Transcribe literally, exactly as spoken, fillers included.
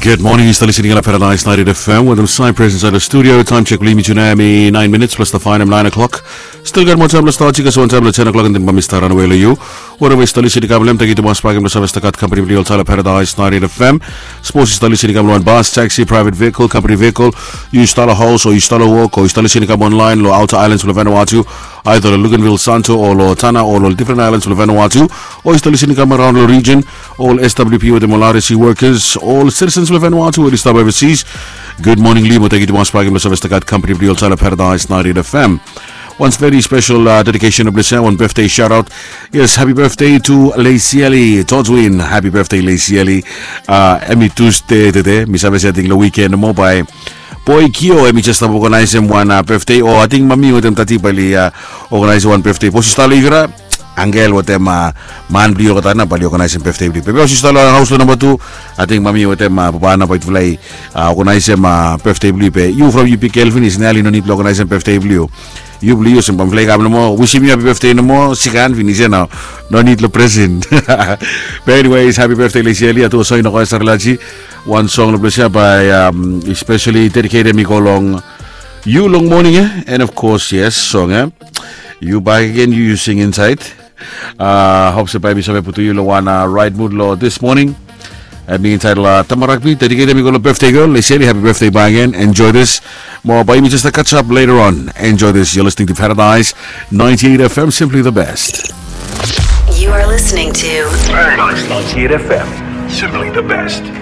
Gud moning, yu stap lisin long Paradise ninety-eight F M wetem Cypress insaed long studio. Taem sek blong yumi tu nao hemi naen minits blong stap faenem naen o'clock. Stil gat moa taem blong stap, i gat wan taem blong ten o'clock, and then bae mi stap ranawe long yu. Wherever yu stap lisin i kam long hem, tangkiu tumas bakegen blong save stap gat kampani blong yu oltaem long Paradise ninety-eight F M. Sapos yu stap lisin i kam long wan bas, taxi, private vehicle, company vehicle, yu stap long haos o yu stap long wok o yu stap lisin i kam online long outer islands blong Vanuatu, either long Luganville, Santo o long Tanna o long difren islands blong Vanuatu, o yu stap lisin i kam araon long region, ol S W P wetem ol R S C workers, ol citizens blong Vanuatu we oli stap overseas. Gud moning long yu mo tangkiu tumas bakegen blong save stap gat kampani blong yu oltaem long Paradise ninety-eight F M. Wan very special, uh, dedication blong yu, wan birthday shout out. Yes, happy birthday to Lesieli Todwin. Happy birthday, Lesieli. Uh, hemi Tuesday tede, mi save se ating long weekend nomo bae Boy Kio hemi jes stap organizem wan, uh, birthday, o ating mami wetem dadi bae oli, uh, organizem wan birthday. Sapos yu stap long Ivira, angel wetem, uh, man blong yu olgeta nao bae oli organizem birthday blong yu. Be sapos yu stap long haos long namba tu, ating mami wetem, uh, papa nao bae oli, uh, organizem, uh, birthday blong yu. Be yu from yu bigel finis, nao oli no nid blong organizem birthday blong yu. Yu blong yu olsem bae mifala i kam nomo wisim yu happy birthday nomo, sikan finis ia nao. No nid long present. Be anyways, happy birthday Lesieli. Atu olsem yu no koes sarelaji, wan song long ples ia bae, um, especially dedicated i go long yu long moning ia. And of course, yes, song ia, yu bakegen, yu, yu sing insaed. Uh, hop se bae mi save putum yu long wan, uh, right mood long this morning. Hemi insaed long, uh, Tama Rugby, dedicated i go long birthday girl Lesieli. Happy birthday bakegen. Enjoy this. Mo bae yumi jes stap catch up later on. Enjoy this. You're listening to Paradise ninety-eight F M, simply the best. You are listening to Paradise ninety-eight F M, simply the best.